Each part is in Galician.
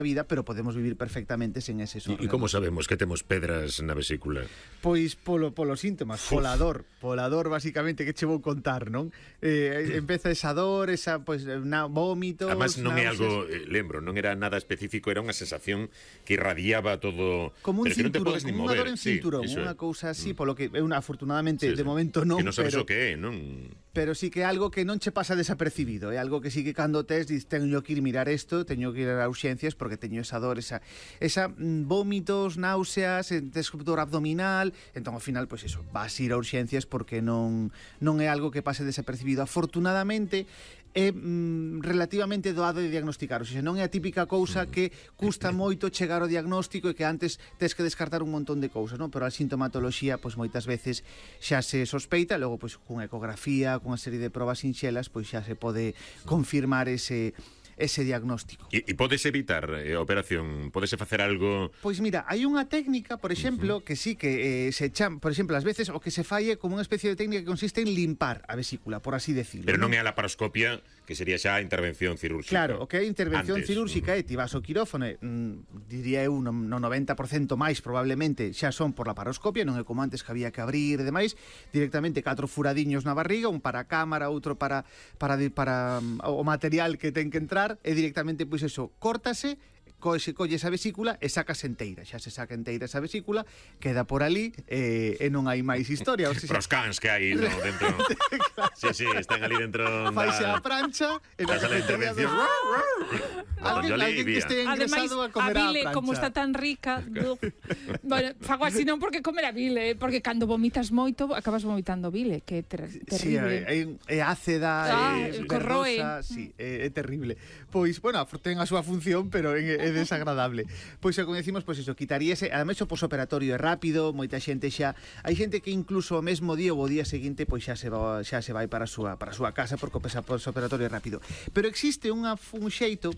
vida, pero podemos vivir perfectamente sen eses órganos. E como sabemos que temos pedras na vesícula? Pois polos síntomas, polador basicamente, que che vou contar, non? Empeza esa dor, esa vómitos, además non é náuseas. algo, lembro, non era nada específico, era unha sensación que irradiaba todo, como un pero que non te cinturón, podes ni como unha mover. dor en cinturón, unha cousa así, polo que afortunadamente de momento non, que non sabes pero o que é, non? pero sí que é algo que non che pasa desapercibido, é algo que sí que cando tes dices, teño que ir mirar isto, teño que ir a urxencias porque teño esa dor, esa vómitos, náuseas, dor abdominal, entón ao final, pois eso, vas ir a urxencias porque non é algo que pase desapercibido. Afortunadamente é relativamente doado de diagnosticar, ou seja, non é a típica cousa que custa moito chegar ao diagnóstico e que antes tes que descartar un montón de cousas, non? Pero a sintomatoloxía, pois moitas veces xa se sospeita, logo pois cunha ecografía, cunha serie de probas sinxelas, pois xa se pode confirmar ese diagnóstico. E podes evitar a operación? Podese facer algo? Pois mira, hai unha técnica, por exemplo, que sí que se chama, por exemplo, ás veces o que se falle como unha especie de técnica que consiste en limpar a vesícula, por así decirlo. Pero non é a laparoscopia, que sería xa a intervención cirúrgica. Claro, o que é intervención cirúrgica é ti vas ao quirófano, diría eu, no 90% máis probablemente xa son por laparoscopia, non é como antes que había que abrir e demais, directamente 4 furadiños na barriga, un para a cámara, outro para o material que ten que entrar, e directamente, pois eso, córtase, colle esa vesícula e sacas enteira. Xa se saca enteira esa vesícula, queda por ali e non hai máis historia. O sea, pros cans que hai dentro. Claro. Sí, están ali dentro. Faise a prancha e na intervención. Alguén que este ingresado a comer a bile, prancha. como está tan rica, bueno, fago así non porque comer a bile, porque cando vomitas moito acabas vomitando bile, que é terrible. Sí, é ácida, corroe. verdosa, sí, é terrible. Pois, bueno, ten a súa función, pero é desagradable. Pois, como decimos, pois iso, quitaríase, ademais o posoperatorio é rápido, moita xente xa, hai xente que incluso o mesmo día ou o día seguinte, pois xa se vai para a súa casa porque o posoperatorio é rápido. Pero existe un xeito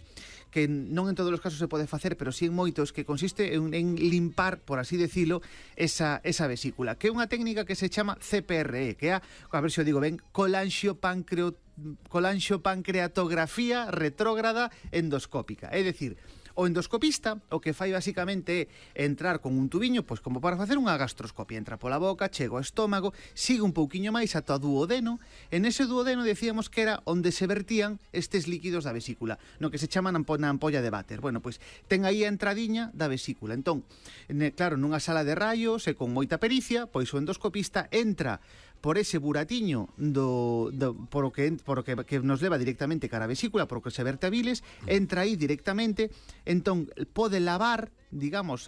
que non en todos os casos se pode facer, pero sí en moitos, que consiste en limpar, por así decilo, esa vesícula, que é unha técnica que se chama CPRE, que é, a ver se o digo ben, colanxopancreatografía retrógrada endoscópica. É dicir, o endoscopista o que fai basicamente é entrar con un tubiño, pois como para facer unha gastroscopia, entra pola boca, chega ao estómago, sigue un pouquiño máis ata o duodeno, e nese duodeno decíamos que era onde se vertían estes líquidos da vesícula, no que se chama na ampolla de váter. Bueno, pois ten aí a entradiña da vesícula. Entón, claro, nunha sala de raios e con moita pericia, pois o endoscopista entra por ese buratiño por o que nos leva directamente cara a vesícula, por o que se verte a biles, entra aí directamente, entón pode lavar, digamos,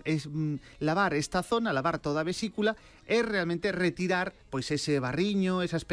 lavar esta zona, lavar toda a vesícula e realmente retirar pois ese barriño, esas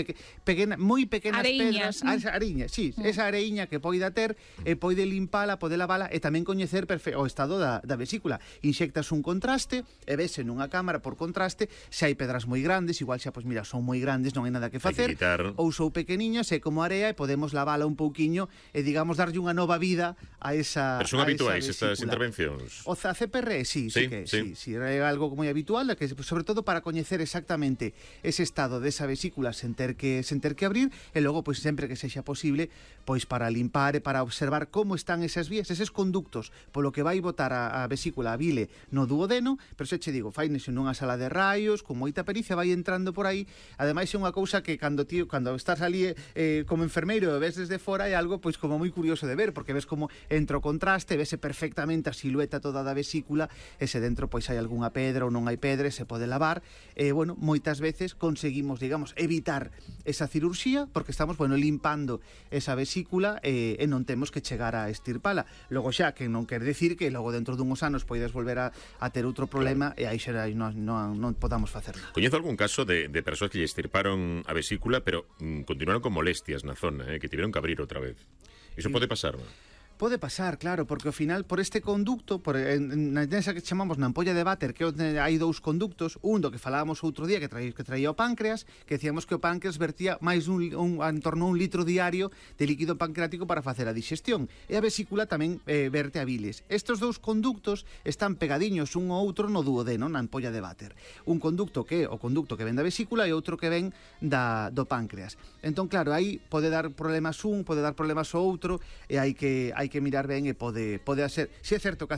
moi pequenas pedras, esa areiña, sí, esa areiña que poida ter, e pode limpala, pode lavala e tamén coñecer o estado da vesícula. Inxectas un contraste e vese nunha cámara por contraste se hai pedras moi grandes, igual xa, pois mira, son moi grandes, non hai nada que facer, ou sou pequeniñas, é como area e podemos lavala un pouquiño e, digamos, darlle unha nova vida a esa. Pero son habituais estas intervencións? O CPR, sí, é algo moi habitual, que sobre todo para coñecer exactamente ese estado desa vesícula sen ter que abrir, e logo, pois sempre que sexa posible, pois para limpar e para observar como están esas vías, eses conductos polo que vai botar a vesícula, a bile, no duodeno, pero xa che digo, fainese nunha sala de raios, con moita pericia, vai entrando por aí. Ademais é unha cousa que cando estás ali como enfermeiro e ves desde fora, é algo pois como moi curioso de ver, porque ves como entra o contraste, vese perfectamente a silueta toda da vesícula, e se dentro pois hai algunha pedra ou non hai pedra, se pode lavar. Bueno, moitas veces conseguimos, digamos, evitar esa cirurxía porque estamos, bueno, limpando esa vesícula e non temos que chegar a estirpala. Logo xa, que non quer decir que logo dentro dunhos anos poides volver a ter outro problema, e aí xa non podamos facer nada. Coñezo algún caso de persoas que lle estirparon a vesícula, pero continuaron con molestias na zona, que tiveron que abrir outra vez. Iso pode pasar, non? Pode pasar, claro, porque ao final por este conducto, nesa que chamamos na ampolla de váter, que hai dous conductos, un do que falábamos outro día que traía o páncreas, que decíamos que o páncreas vertía máis en torno a 1 litro diario de líquido pancreático para facer a digestión, e a vesícula tamén verte a biles. Estes dous conductos están pegadiños un ao outro no duodeno, na ampolla de váter. Un conducto que é o conducto que ven da vesícula e outro que ven do páncreas. Entón, claro, aí pode dar problemas pode dar problemas o outro, e hai que mirar ben, e pode ser. Si é certo que a